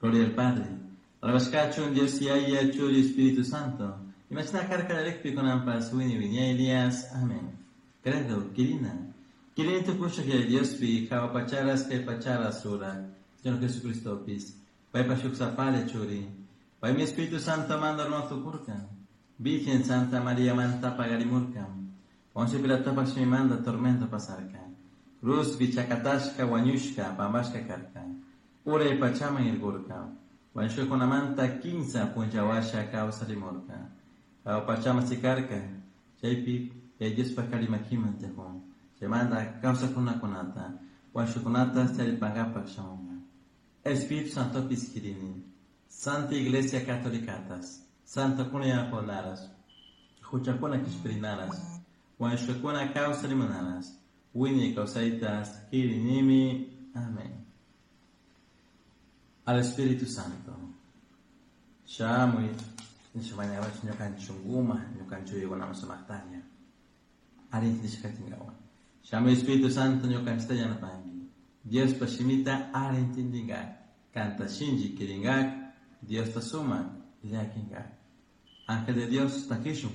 Gloria al Padre. Alabashcachun Dios Yaya, Churi, Espíritu Santo. Imashina karka qallarikpi kunanpas wiñay wiñaylias. Amén. Credo, quirina. Quirini tukushaj Yaya Diospi, jahua pacharas kay pacharas ruraj, Señor Jesucristopis, paypa shuk sapalla churi. Paymi Espíritu Santo manta runa tukurka. Virgen Santa María manta paqarimurka. Poncio Pilatopa shimimanta tormento pasarka. Cruzpi chakatashka wañushka pambashka karka. Uray pachaman irkurka. Wañushkakunamanta kinsa punlla washa kawsarimurka. Jahua pachaman sikarka. Chaypi Yaya Diospa kari makiman tiyakun. Chaymanta kawsakkunakunata, wañushkakunata charipankapak shamunka. Espíritu Santopis quirini. Santa Iglesia Catolicatas, Santokuna yanapakunaras, huchakuna kishpirinaras, wañushkakuna kawsarimunaras, wiñay kawsaytas quirinimi. Amén. Al Espíritu Santo. Shamuy, nisha ñukanchik shunkuma, ñukanchik yuyaykunaman sumaqtalla. Ari intindishka katinkawan. Shamuy Espíritu Santo ñukanchikta yanapanki. Diospa shimita ari intindingak. Kanta shinchi kirinkak, Diosta sumak llakinkak. Ángel de Dios takishun.